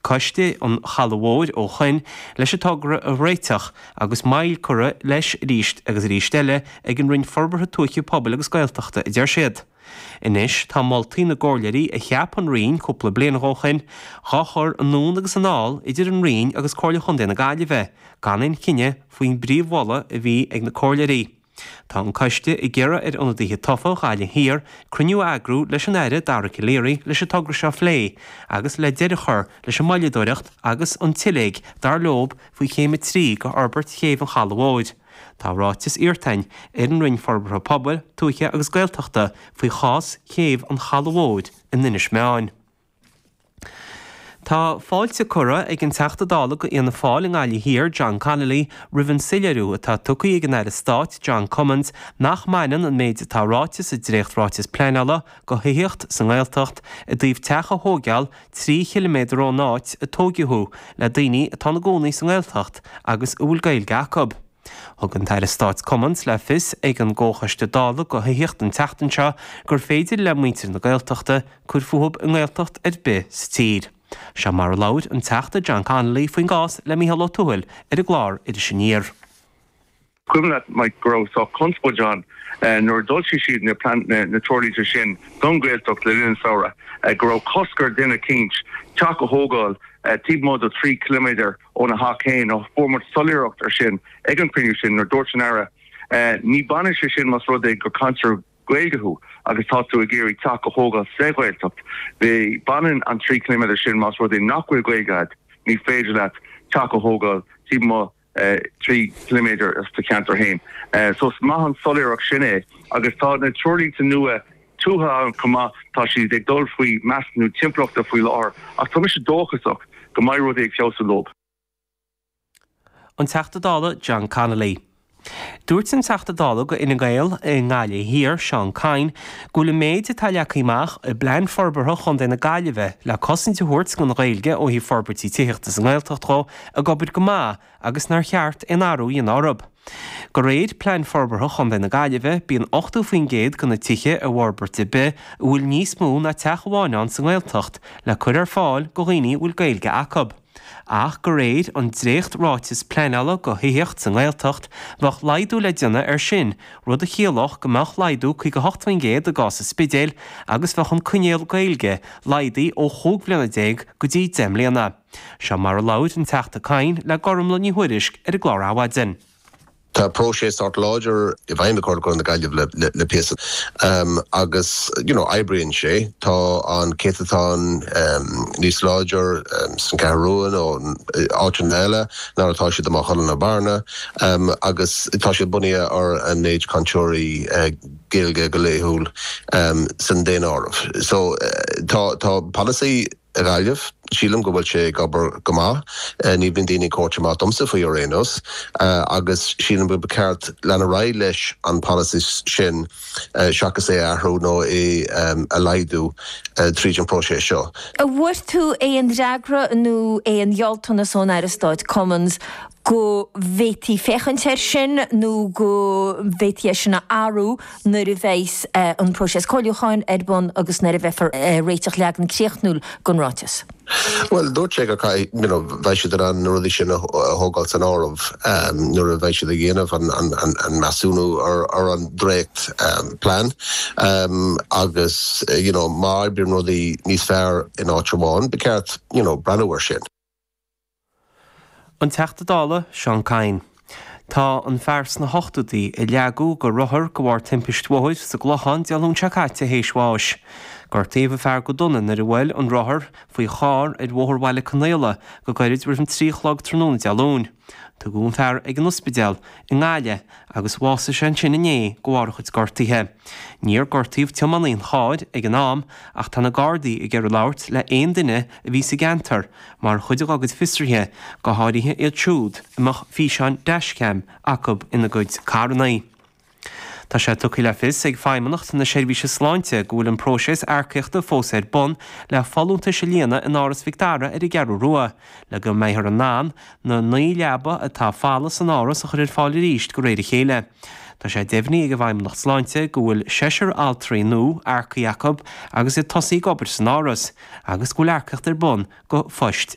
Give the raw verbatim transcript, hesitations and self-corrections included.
Coiste an Chalaidh Mhóir ó shoin leis an togra a réiteach agus moill curtha leis arís agus arís eile ag an Roinn Forbartha Tuaithe Pobail agus Gaeltachta a deir siad. Anois tá moltaí na gcomhairleoirí a cheap an Roinn cúpla bliain ó shoin dhá chur anonn agus anall idir an Roinn agus Comhairle Chontae na Gaillimhe, gan aon chinneadh faoin bpríomh-mholadh a bhí ag na comhairleoirí. Tá an coiste ag iarraidh ar ionadaithe tofa Ghaillimh Thiar cruinniú a eagrú leis an Aire Dara Calleary leis an togra seo a phlé agus le deireadh a chur leis an moilleadóireacht agus an tsiléig dar leob faoi chéim a trí de fhorbairt chéibh an Chalaidh Mhóir. Tá ráiteas iarrtha ar an Roinn Forbartha Pobail, Tuaithe agus Gaeltachta faoi chás chéibh an Chalaidh Mhóir in Inis Meáin. Tá fáilte curtha ag an Teachta Dála go Fhianna Fáil i nGaillimh Thiar John Connolly roimh an soiléiriú atá tugtha ag an Aire Stáit John Cummins nach mbaineann an méid atá ráite sa dréacht-ráiteas pleanála go thithíocht sa nGaeltacht i dtaobh teach a thógáil trí chiliméadar ón áit a tógadh thú le daoine atá ina gcónaí sa nGaeltacht agus a bhfuil Gaeilge acu. Thug an tAire Stáit Cummins le fios ag an gComhchoiste Dála go thithíocht an tseachtain seo gur féidir le muintir na Gaeltachta cur fúthu i nGaeltacht ar bith sa tír. Seo mar a labhair an Teachta John Connolly faoin gcás le Mícheál Ó Tuathail ar an gclár Iris Aniar. Cuimhin leat Mike go raibh sórt conspóid ann nuair a d'fhoilsigh siad na na, na treoirlínte sin don Ghaeltacht le linn an samhradh go raibh cosc ar duine eicínt teach a thógáil taobh amuigh de trí kilometer óna theach féin ó fuair muid soiléireacht ar sin ag an cruinniú sin nuair dúirt an Aire ní bhaineann sé sin más rud é gur cainteoir Gaeilge thú agus tá tú ag iarraidh teach a thógáil sa Ghaeltacht. Bhí baineann an trí kilometer sin más rud é nach bhfuil Gaeilge agat ní féidir leat teach a thógáil taobh amuigh trí kilometer as do cheantar féin. So is maith an soiléireacht sin é agus tá na treoirlínte nua tuaithe ann chomh maith tá siad ag dul faoi measúnú timpeallachta faoi láthair ach tá mise dóchasach go mbeidh rudaí ag feabhsú leo. An Teachta Dála John Connolly. Dúirt an Teachta Dála go Fhine Gael i nGaillimh Thiar Seán Kyne go bhfuil an méid atá leagtha amach i bplean forbartha Chontae na Gaillimhe le cosaint a thabhairt don Ghaeilge ó thaobh forbairtí tithíochta sa nGaeltacht dhó ag obair go maith agus nár cheart aon athrú a dhéanamh orthu. De réir plean forbartha Chontae na Gaillimhe bíonn ochtó faoin gcéad de na tithe i bhforbairt ar bith a bhfuil níos mó ná teach amháin ann sa nGaeltacht le cur ar fáil go dhaoine a bhfuil Gaeilge acu. Ach de réir an dréacht-ráiteas pleanála go thithíocht sa nGaeltacht bheadh laghdú le déanamh air sin, rud a chiallódh go mbeadh laghdú caoga hocht faoin gcéad i gcás an Spidéil agus bheadh an coinníoll Gaeilge laghdaithe ó chúig bhliana déag go dtí deich mbliana. Seo mar a labhair an Teachta Kyne le Gormlaith Ní Thuairisg ar an gclár Adhmhaidin. Tá próiseas sórt láidir i bhfeidhm ag Comhairle na Gaillimhe le, le, le píosa um, agus you know, oibríonn sé tá an céatadán um, níos láidir um, san Cheathrú Rua nó áiteanna eile ná atá siad amach na Bearna um, agus tá sé bunaithe ar an méid cainteoirí uh, Gaeilge go laethúil um, san daonáireamh. So uh, tá tá polasaí Gaillimh sílim go bhfuil sé ag obair go maith ní bhíonn daoine cuairt amach domsa faoi ar aon nós agus sílim go ceart leanúint ar aghaidh leis an policy sin seachas é athrú nó é a laghdú tríd an próiseas seo. An bhfuair tú aon fhreagra nó aon ghealltanas ón Aire Stáit Cummins go bhféadfaí féachaint air sin nó go bhféadfaí sin a athrú nuair a bheas an próiseas comhairliúcháin ar bun agus nuair a bheifear réiteach leagan críochnúil den ráiteas. Well dúirt sé go you know, bheidh siad an na rudaí sin a thógáil san áireamh um, nuair a bheidh siad ag déanamh an, an, an, an measúnú ar, ar an dréacht um, plean um, agus you know, má bhíonn rudaí níos fearr in áit amháin, ba cheart you know, breathnú air sin. An Teachta Dála Seán Kyne. Tá an fear sna hochtóidí a leagadh de rothar de bharr timpiste bhóthair sa gClochán Dé Luain seo caite théis bháis. Gortaíodh an fear go dona nuair a bhuail an rothar faoi charr ar Bhóthar Bhaile Conaola go gairid roimh an trí chlog tráthnóna Dé Luain. Tugadh an fear ag an ospidéal i nGaillimh agus bhásaigh sé ansin inné de bharr a chuid gortuithe. Níor gortaíodh tiománaí an chairr ag an am ach tá na Gardaí ag iarraidh labhairt le aon duine a bhí sa gceantar mar chuid dá gcuid fiosruithe go háirithe iad siúd a mbeadh físeáin dashcam acu ina gcuid carranna. Tá sé tugtha le fios ag Feidhmeannacht na Seirbhíse Sláinte go bhfuil an próiseas earcaíochta fós ar bun le folúntais a líonadh in Áras Mhic Dara ar an gCeathrú Rua, le go mbeifear in ann na naoi leaba atá folamh san áras a chur ar fáil arís de réir a chéile. Tá sé deimhnithe ag an bhFeidhmeannacht Sláinte go bhfuil seisear altraí nua earcaithe acu agus iad tosaithe ag obair san áras, agus go bhfuil earcaíocht ar bun go phoist